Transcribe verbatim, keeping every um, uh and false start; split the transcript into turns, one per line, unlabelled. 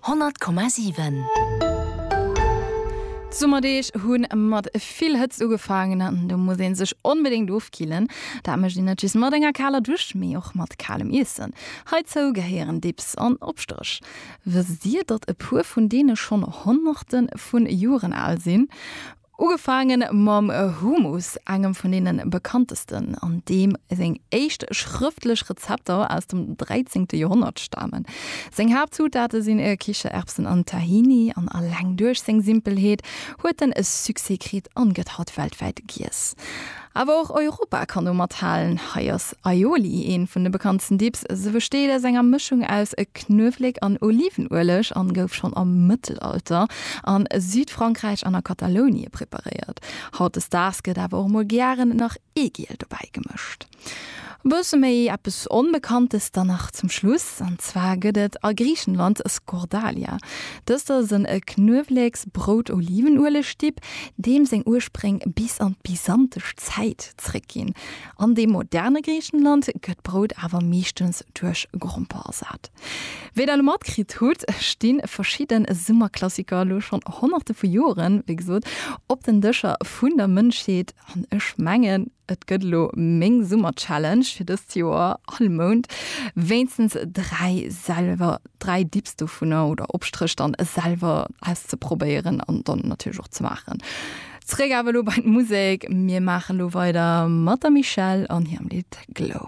honnert Komma siwen.
D'Summerdeeg hu mat vill Hëtzt ugefaangen an do muss ee sech onbedéngt ofkillen. Dat mécht een net just mat enger kaler Dusch, mee och mat kalem Iessen. Heizou gehéieren Dips an Opstréch. Wësst Dir, datt e puer vun deene schonn Honnerte vun Joren al sinn? Ugefaangen mam Hummus, engem vun deene bekanntesten, an deem seng éischt schrëftlech Rezepter aus dem dräizéngte Joerhonnert stamen. Seng Haaptzutate sinn Kichererbsen an Tahini, an alleng duerch seng Simpelheet huet en e Succès kritt an gëtt haut weltwäit giess. Awer och Europa kann do mathalen. Hei ass Aioli een vun de bekanntsten Dips. Se besteet aus enger Mëschung aus Knuewelek an Olivenueleg an gouf schonn am Mëttelalter a Südfrankräich an a Katalounie preparéiert. Hautdesdaags gëtt awer och mol gären nach Eegiel dobäi gemëscht. E bësse méi eppes Onbekanntes dann nach zum Schluss, an zwar gëtt et a Griichenland Skordalia. Dëst ass en Knueweleks-Brout-Olivenueleg-Dip, deem seng Urspréng bis an d'byzantesch Zäit zréckginn. An deem moderne Griichenland gëtt Brout awer meeschtens duerch Gromper ersat. Wéi der elo matkritt hutt, sti verschidde Summerklassiker elo schonn Honnerte vu Joren, wéi gesot, op den Dëscher vun der Mënschheet. An ech mengen, et gëtt elo meng Summer-Challenge fir dëst Joer, all Mount wéinstens dräi selwer, dräi Dips dovunner oder Opstréch dann selwer auszeprobéieren an dann natierlech och ze maachen. Zréck awer elo bei d'Musek, mir maachen elo weider mat der Michelle an hirem Lidd Glow.